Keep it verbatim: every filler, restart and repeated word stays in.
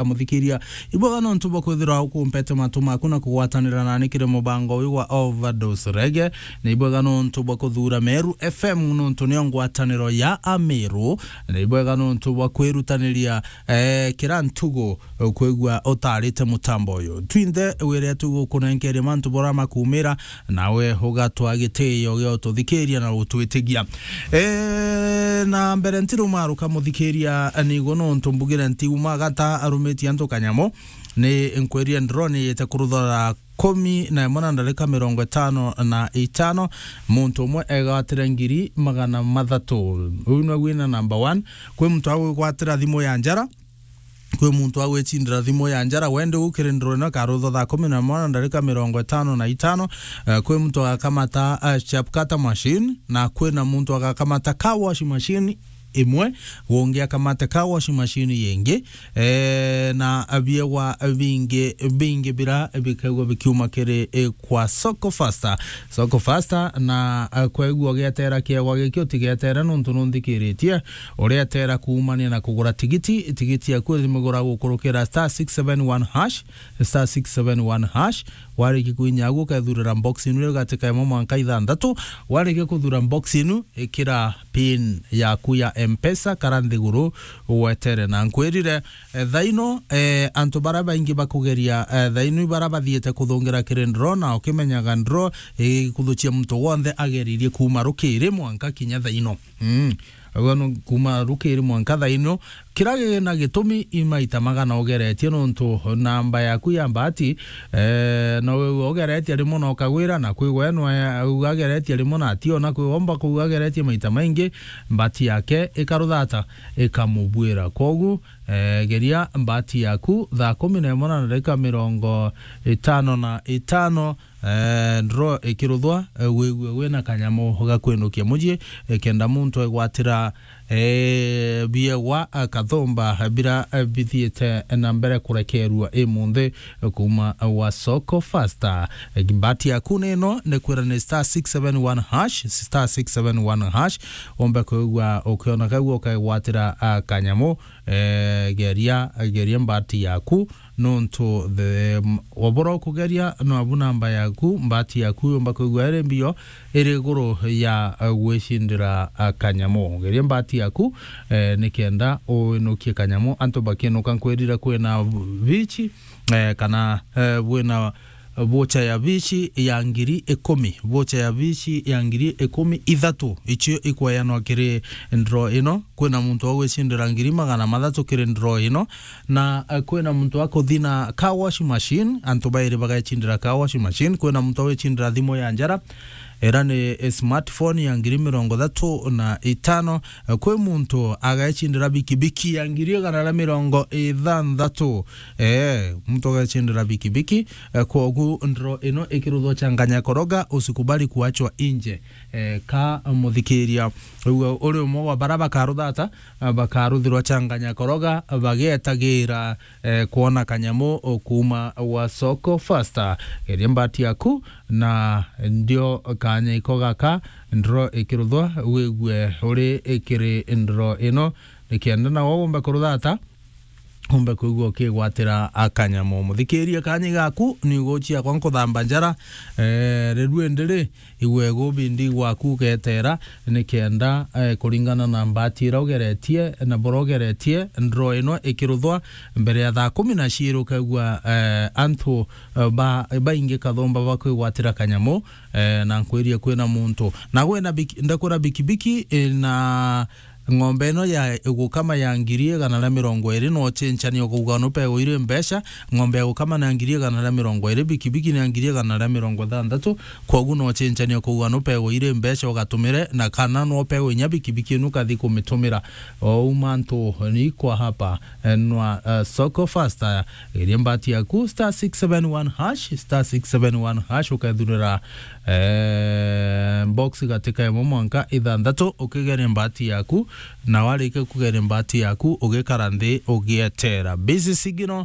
Muthikiria, ibwega nontu bwa kwithirwa ukumpete matu maku na kugwatanira nani kiri mubango uyu wa Overdose Reggae. Na ibwega nontu bwa kuthura Meru F M, nontu niyo ngwataniro ya Ameru. Na ibwega nontu bwa kwirutaniria, eh, kira ntugu kwigua utarite mutambo uyu. Twinthe wire tugukunenkeria mantu bora makumira, nawe ugatwa gitio gia ututhikiria na utwitigia. E, na mbere ntirumaruka muthikiria, nigo nontu mbugire ntiuma gata arumitie antu kanyamu, ni nkwirie ndro ni yite kuruthora kumi na imwe na ndarika mirongo itano na itano, muntu umwe egwatire ngiri magana mathatu. Uyu nwe wina number one. Kwi muntu agwigwatira thimu ya njara, kwi muntu agwicindira thimu ya njara, wende gukirindiro ino karutho thaa kumi na imwe na ndarika mirongo itano na itano. Eh, kwi muntu agakamata, eh, chapkata machine, na kwina muntu agakamata car wash machine imwe, ungi akamate car wash machine yingi, eh, na biegwa bingi, bingi bira bikaigwa bikiuma kiri, eh, kwa Soko Faster. Soko Faster, na, eh, kwegua ugietera kiegwa giki utigetere nontu nunthikiritie. Uretera kuumania na kugura tigiti, tigiti yaku imigura gukurukira star six seven one hash, star six seven one hash. Warikia kuinya agu ukethurira box inu iri gatika imwe mwanka ithanthatu. Warikia kuthura box inu, ikira pin yaku ya Mpesa kara nthiguru wetere. Na nkwirire, eh, thaino, eh, antu bara baingi bakugeria, eh, thaino ibara bathiite kuthungira kiri ndro, na ukimenyaga ndro igikuthucia muntu wonthe ageririe kuuma rukiri mwanka kinya thaino. Mm. Agwe no kuma rukiri mwanka thaino. Kira gina gitumi i maita magana ugeretie nontu namba yaku ya mbati, eh, no wigua ugeretie rimwe na ukagwira, na kwigwa we nwe uga ageretie rimwe na ationa, kwigwa omba kuuga ageretie maita maingi, mbati yake ikaruthata, ikamubwira. Kwogu, eh, geria mbati yaku thaa kumi na imwe na ndarika mirongo itano na itano, eh, ndro ikiruthwa, eh, wigue wina kanyamu ga kwinukia mucii, eh, kenda muntu egwatira, eh, biegwa, eh, kathumba, eh, bira, eh, bithiite na mbere kurekerua imunthi, eh, kuma wa Soko Faster. Eh, mbati yaku ni ino, ni kwira ni star six seven one hash, star six seven one hash, ombe kwigua ukiona kagua ukegwatira, ah, kanyamu, eh, geria, geria mbati yaku, nontu the, m-, obora ukugeria, nabu namba yaku, mbati yaku yomba kwigua iri mbio, iri iguru ya, eh, gwicindira, ah, kanyamu. Geria mbati yaku, eh, nikenda uinukie kanyamu. Antu bakiinuka nkwirire kwina bichi, eh, kana, eh, bwina vocha ya bichi ya ngiri ikumi, vocha ya bichi ya ngiri ikumi, ithatu icio ikweanwa kiri ndro ino. Kwina muntu wa gwicindira ngiri magana mathatu kiri ndro ino, na, eh, kwina muntu wa kuthina car wash machine, antu bairi bagecindira car wash machine. Kwina muntu wa gwicindira thimu ya njara, era ni smartphone ya ngiri mirongo ithatu na itano. Eh, kwi muntu agecindira bikibiki ya ngiri igana ria mirongo ithanthatu. Eh, muntu agecindira bikibiki. Eh, kwogu ndro ino ikiruthwa changanya koroga, usikubali kuachwa nje. Eh, ka muthikiria, uga uri umwe wa bara bakaruthata, eh, bakaruthirwa changanya koroga, bagetagira, eh, kwona kanyamu kuuma wa Soko Faster. Geria mbati yaku, na ndio kanya iko gaka, ndro ikiruthwa, wigue uri ikiri ndro ino, nikenda nawe wombe kuruthata, umbe kwigua ukigwatira akanyamu. Muthikirie, kanya gaku ni uguchia kwa nkuthamba njara, eh, rirue ndiri, igwe gubi ndi gwaku ugetera, nikenda, eh, kuringana na mbati ira ugeretie, na bura ugeretie, ndro ino ikiruthwa mbere ya thaa kumi na ciiri, ukegua, eh, antu, eh, ba-, baingi kathomba bakwigwatira kanyamu, eh, na nkwirie kwina muntu. Na gwena biki-, ndakwira bikibiki, eh, na ng'ombe ino ya gukama ya ngiri igana ria mirongo iri, no chenchania ukauga no pegwa iri mbeca, ng'ombe ya gukama na ngiri igana ria mirongo iri, bikibiki na ngiri igana ria mirongo ithanthatu, kwogu no chenchania ukauga no pegwa iri mbeca ugatumire, na kana no pegwa inya bikibiki inu kathi kumitumira. Ou mantu ni kwa hapa, eh, nwa, eh, Soko Faster. Geria mbati yaku, star six seven one hash, star six seven one hash, ukethurira, eh, box gatika imwe mwanka ithanthatu, ukigeria mbati yaku, na warikia kugeria mbati yaku, ugikara nthi, ugietera. Busy signal,